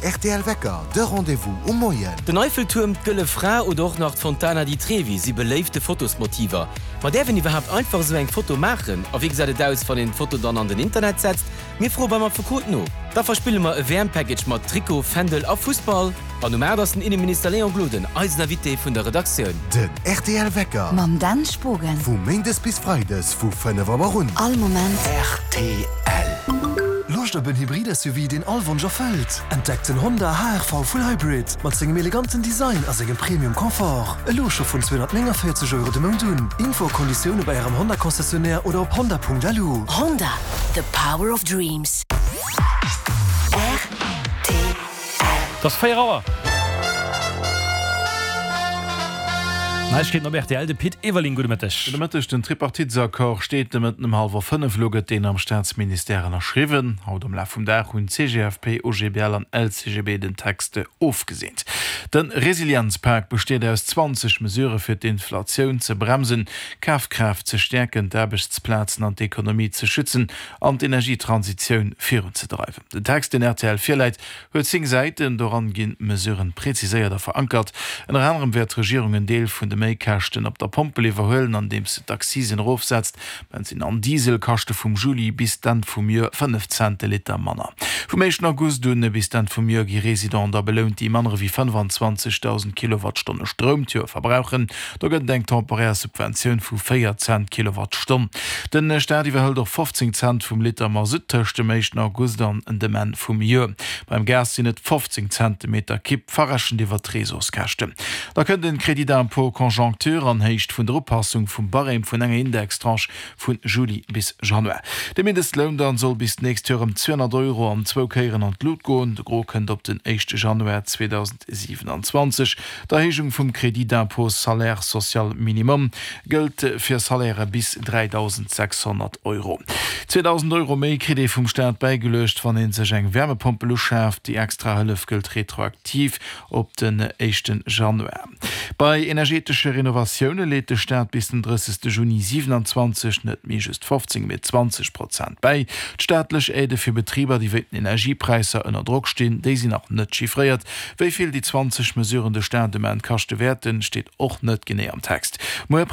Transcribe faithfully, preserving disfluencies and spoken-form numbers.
R T L Wecker, de Rendez-vous um Moien. Den Eiffeltuerm, d'Gëlle Fra oder och nach d'Fontana di Trevi si beléifte Fotosmotiver. Ma däerf een iwwerhaapt einfach esou eng Foto maachen? A wéi gesäit et aus, wann een d'Foto dann an den Internet setzt? Mir froe beim Affekot no. Da verspille mer e W M-Package mat Trikot, Fändel a Fussball. An um aacht ass den Inneminister Léon Gloden eisen Invité vun der Redaktioun. Den R T L Wecker. Mam Dan Spogen. Vu méindes bis freides vu fënnef Auer un. All Moment. R T L. Loscht op en Hybrid-S U V, deen all Wonsch erfëllt? Entdeckt den Honda H R V Full Hybrid mat sengem eleganten Design a sengem Premium Confort. Elo scho vun zweehonnertnénganvéierzeg Euro de Mount un. Info a Konditioune bei ärem Honda Concessionnaire oder op honda Punkt L U. Honda, the power of dreams. R T L. Et ass véier Auer. Neiegkeeten op R T L, de Pit Everling, gudde Mëtteg. Gudde Mëtteg. Den Tripartitesaccord steet de Mëtten um hallwer fënnef. Elo gëtt deen am Staatsministère ënnerschriwwen. Haut am Laf vum Dag hunn C G F P, O G B L an L C G B den Text ofgeseent. De Resilienzpak besteet aus zwanzeg Mesurë fir d'Inflatioun ze bremsen, d'Kafkraaft ze stäerken, d'Aarbechtsplazen an d'Ekonomie ze schützen an d'Energietransitioun virunzedreiwen. Den Text, deen R T L virläit, huet zéng Säiten. Doran ginn d'Mesuren präziséiert a verankert. Ënner anerem wäert d'Regierung en Deel vun de Méikäschten op der Pompel iwwerhuelen, andeems se d'Accisen erofsetzt. Bensinn an Diesel kaschte vum Juli bis d'Enn vum Joer fënnef Cent de Liter manner. Vum éischten August un bis d'Enn vum Joer gi Residenten da belount, déi manner ewéi fënnefanzwanzegdausend Kilowattstonne Stroum d'Joer verbrauchen. Do gëtt et eng temporär Subventioun vu véier Cent d'Kilowattstonn. De Staat iwwerhëlt och fofzéng Cent vum Liter Masutt tëscht dem éischten August an dem Enn vum Joer. Beim Gas sinn et fofzéng Cent de Meter Kibb, verrechent iwwer d'Reseauskäschten. Da kënnt den Crédit d'impôt conjoncture an Héicht vun der Upassung vum Barème vun enger Indextranche vu Juli bis Januar. De Mindestloun dann soll bis d'nächst Joer ëm zweehonnert Euro an zwou Kéieren an d'Lut goen. De Gros kënnt op den éischte Januar zweedausendsiwenanzwanzeg. D'Erhéijung vum Crédit d'impôt salaire social minimum gëllt fir Salairë bis dräidausendsechshonnert Euro. Zweedausend Euro méi kritt ee vum Staat bäigeluecht, wann ee sech eng Wärmepompel uschaaft. Déi extra Hëllef gëllt retroaktiv op den éischte Januar. Bei energetesche Renovatioune leet de Staat bis den drëssegste Juni siewenanzwanzeg net méi just fofzéng, mee zwanzeg Prozent bäi. D'staatlech Aidë fir Betriber, déi wéint den Energiepräisser ënner Drock stinn, déi sinn nach net chiffréiert. Wéi vill déi zwanzeg Mesuren de Staat um Enn kaschte wäerten, steet och net genee am Text. Muer